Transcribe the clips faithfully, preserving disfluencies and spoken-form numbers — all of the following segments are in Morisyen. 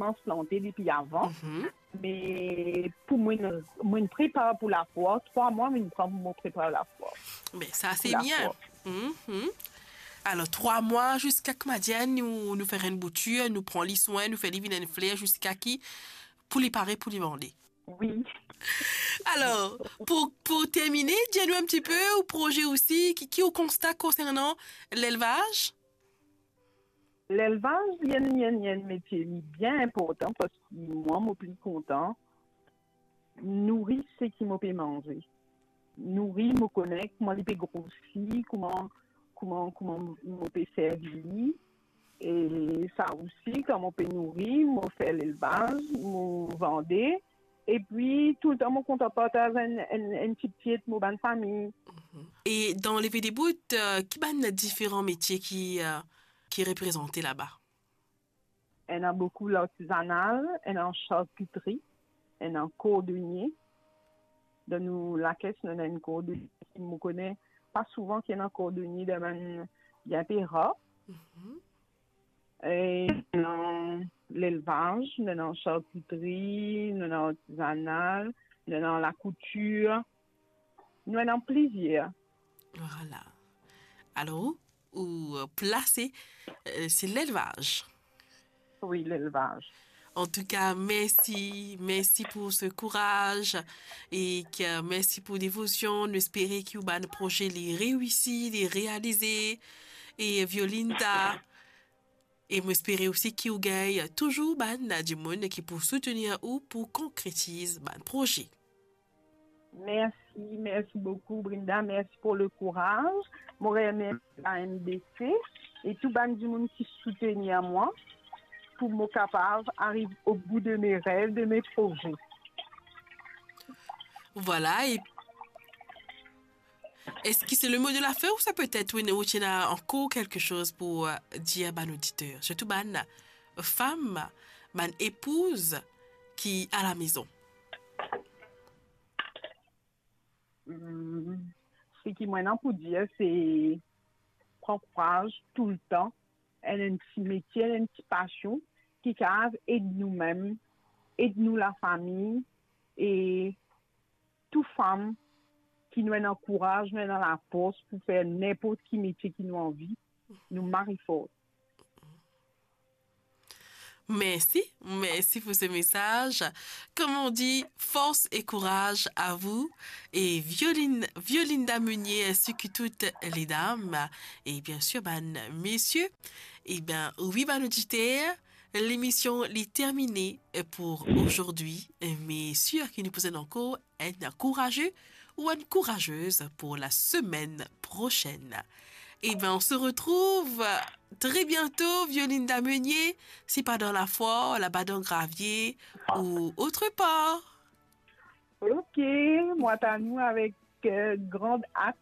koumans plante depi avan. Mhm. Me pou mwa, mwa prepar pou lafwa, trwa mwa, mwa pran pou mwa prepar lafwa. Me sa, se bien. Pou lafwa. Mhm. Alor, trwa mwa ziska ki, kouma dir, nou, nou fer enn boutir, nou pran li swin, nou fer li vinn enn fler ziska ki, pou li pare, pou li vande. Wi. Alor, pou, pou termine, dir nou enn tipe ou proze osi, ki, ki ou konsta konsernan lelvaz? Lelvaz, li enn, li enn, li enn metie, li bien inportan, parski mwa, mo pli kontan nouri seki mo pe manze. Nouri, mo kone kouma li pe grosi, kouma, kouma, kouma mo pe servi li. E sa osi, kan mo pe nouri, mo fer lelvaz, mo vande. Epi, toultan mo kontan partaz enn, enn, enn ti pie ek mo bann fami. Mhm. E dan Leve Debout, euh, ki bann diferan metie ki, euh, ki reprezante laba? Ena boukou lartizanal, ena charkitri, ena kordonie. Dan nou lakes, nou ena enn kordonie. Mo kone pa souvan ki ena kordonie dan bann, bien pe rar. Mhm. E nou ena lelvaz, nou ena charkitri, nou ena artizanal, nou ena lakoutir, nou ena plizier. Vwala. Alor, ou, euh, plase, euh, se lelvaz. Wi, lelvaz. Antouka, mersi, mersi pou se kouraz e ki, mersi pou devosion. Nou espere ki ou bann proze li reisi, li realize. E Violinda, e mo espere osi ki ou gagn touzour bann dimoun ki pou soutenir ou pou konkretiz bann proze. Mersi, mersi boukou, Brinda. Mersi pou le kouraz. Mo remersi la M D C e tou bann dimoun ki soutenir mwa pou mo kapav ariv o bout de me rev, de me proze. Vwala, e eski se le mo de la fin ouswa petet ou, ou ti ena ankor kelke soz pou, euh, dir bann oditer, sirtou bann fam, bann epouz ki a la mezon? Hmm, seki mo ena pou dir, se pran kouraz toultan, enn, enn ti metie, enn ti pasion ki kapav ed nou mem, ed nou lafami, e tou fam ki nou ena kouraz, nou ena lafors pou fer ninport ki metie ki nou anvi, nou mari for. Merci, merci pour ce message. Comme on dit, force et courage à vous. Et Violin-, Violinda Meunier, ainsi que toutes les dames. Et bien sûr, ben, messieurs. Eh ben, oui, ben, auditeur, l'émission est terminée pour aujourd'hui. Mais sûr qu'il nous possède encore un courageux ou une courageuse pour la semaine prochaine. Eh ben, on se retrouve très bientôt, Violinda Meunier, si pas dans la foire, là-bas dans Gravier ou autre part. Ok, mwa, nou avek, euh, grand at.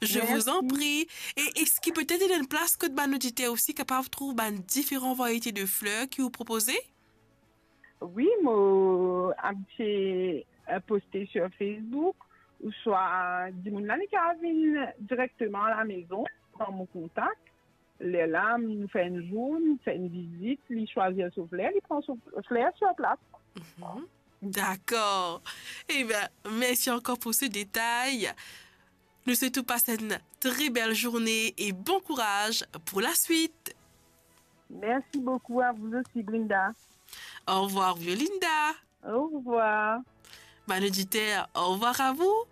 Je vous en prie. E eski petet ena enn plas kot bann oditer osi kapav trouv bann diferan variete de fler ki ou propoze? Wi, mo abitie, euh, poste sur Facebook, ouswa dimoun la, li kapav vinn direkteman a la mezon, pran mo kontak. Lerla, nou fer enn zour, nou fer enn vizit, li swazir so fler, li pran so fler sur plas. Mhm. Dakor. Eh ben, merci encore pour ce détail. Nous souhaitons passer une très belle journée et bon courage pour la suite. Merci beaucoup à vous aussi, Brinda. Au revoir, Violinda. Au revoir. Bon auditeur, au revoir à vous.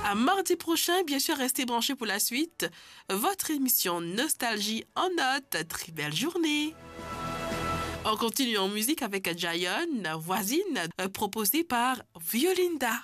À mardi prochain, bien sûr, restez branchés pour la suite. Votre émission Nostalgie en notes. Très belle journée. On continue en musique avec Jayon, Voisine, euh, proposée par Violinda.